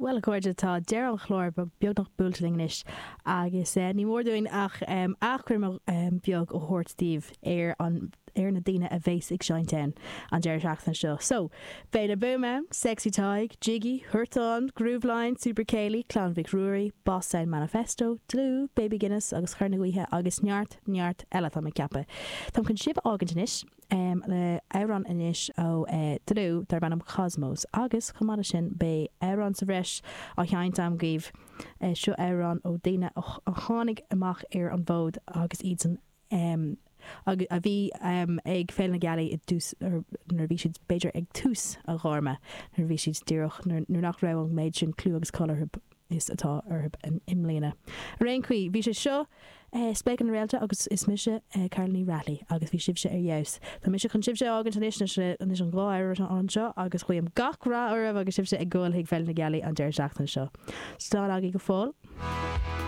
Bhuel, a chairde, tá deireadh an chláir beagnach buailte linn anois agus ní mór dúinn ach achoimre bheag a thabhairt daoibh ar an ar na daoine a bheas ag seinnt ann an deireadh seachtaine seo. So, beidh La Boom ann, Sexy Tadhg, Jiggy, Huartán, Grooveline, Super Céilí, Clann Mhic Ruairí, Boss Sound Manifesto, Dlúth, Baby Guinness agus Cor na Gaoithe agus neart, neart eile, tá mé ag ceapadh. Táim chun sibh a fhágaint anois. le amhrán anois ó Dlúth darb ainm Cosmos agus chomh maith leis sin beidh amhrán sa bhreis á sheinnt agam dhaoibh. Seo amhrán ó daoine a tháinig amach ar an bhfód agus iadsan a bhí ag Féile na Gealaí i dtús nuair a bhí siad b'fhéidir ag tús a ghairme nuair a bhí siad díreach nuair nach raibh an méid sin clú agus cáil orthu is atá orthu i mbliana. Ar aon chaoi, bhí sé seo Spléachadh na Réalta agus is mise Carla Ní Raghallaigh agus bhí sibhse ar fheabhas. Tá mise chun sibhse a fhágaint anois anois an dá amhrán seo agus guím gach rath oraibh agus sibhse ag gabháil chuig Féile na Gealaí an deireadh seachtaine seo. Slán agaibh go fóill.